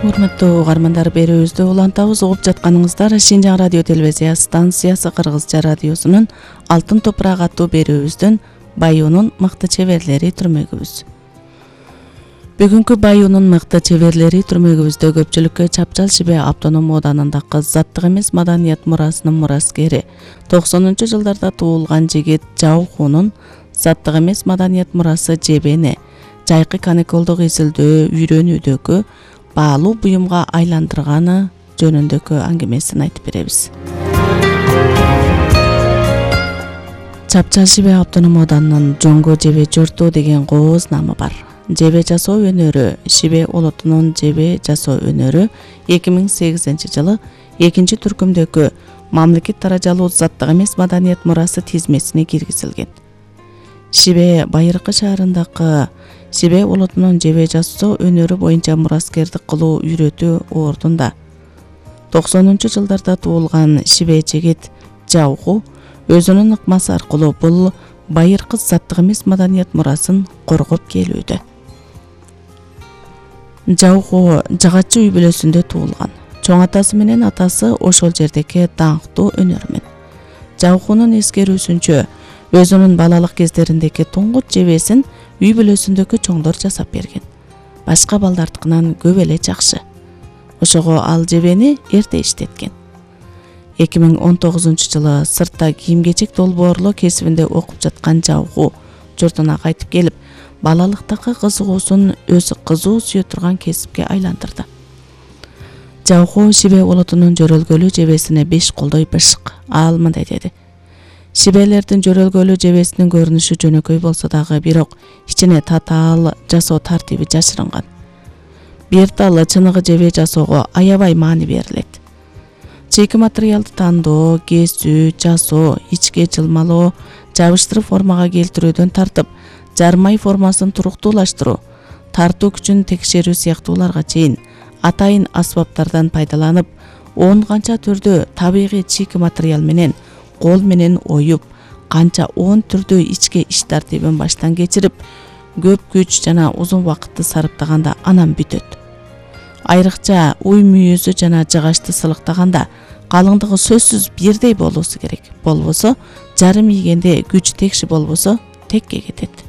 Урматтуу угармандар, берүүбүздү улантабыз. Угуп жатканыңыздар Шинжаң радио телевизия станциясы Кыргызча радиосунун Алтын топурак аттуу берүүбүздүн Баюунун мыкты чеберлери түрмөгүбүз. Бүгүнкү Баюунун мыкты чеберлери түрмөгүбүздө көпчүлүккө Чапчал Шибе автоном оданындагы заттык эмес маданият мурасынын мураскери 90-жылдарда туулган жигит Жаухунун заттык эмес маданият мурасы жебени жайкы каникулдук изилдөө үйрөнүүдөгү баалуу буюмга айландырганы жөнүндөгү аңгемесин айтып беребиз. Чапчал Шибе автоном оданынын Жоңго жебе жорту деген кооз намы бар. Жебе жасоо өнөрү, Шибе улутунун жебе жасоо өнөрү 2008-жылы 2-түркүмдөгү мамлекет даражалуу заттык эмес маданият мурасы тизмесине киргизилген. Шибе Байыркы шаарындагы Шибе улутунун жебе жасоо өнөрү боюнча мураскердик кылуу үйрөтүү ордунда 90-жылдарда туулган Шибе жигит Жауху өзүнүн ыкмасы аркылуу бул байыркы заттык эмес маданият мурасын коргоп келүүдө. Жауху жагачы үй бүлөсүндө туулган. Чоң атасы менен атасы ошол жердеги даңктуу өнөрмөн. Жаухунун эскерүүсүнчө өзүнүн балалык кездериндеги туңгут жебесин үй бүлөсүндөгү чоңдор жасап берген. Башка балдардыкынан көп эле жакшы. Ошого ал жебени эрте иштеткен. 2019-жылы сыртта кийим-кечек долбоорлоо кесибинде окуп жаткан Жауху журтуна кайтып келип, балалыктагы кызыгуусун өзү кызуу сүйө турган кесипке айландырды. Жауху Шибе улутунун жөрөлгөлүү жебесине беш колдой бышык. Ал мындай деди: Шибелердин жөрөлгөлүү жебесинин көрүнүшү жөнөкөй болсо дагы, бирок ичине татаал жасоо тартиби жашырынган. Бир дал чыныгы жебе жасоого аябай маани берилет. Чийки материалды тандоо, кесүү, жасоо, ичке жылмалоо, жабыштырып формага келтирүүдөн тартып, жармай формасын туруктуулаштыруу, тартуу күчүн текшерүү сыяктууларга чейин атайын асбаптардан пайдаланып, 10 канча түрдүү табигый чийки материал менен кол менен оюп, канча 10 түрдүү ичке иш тартибин баштан кечирип, көп күч жана узун убакытты сарыптаганда анан бүтөт. Айрыкча уй мүйүзү жана жыгачты сылыктаганда калыңдыгы сөзсүз бирдей болуусу керек. Болбосо жарым ийгенде күч текши болбосо текке кетет.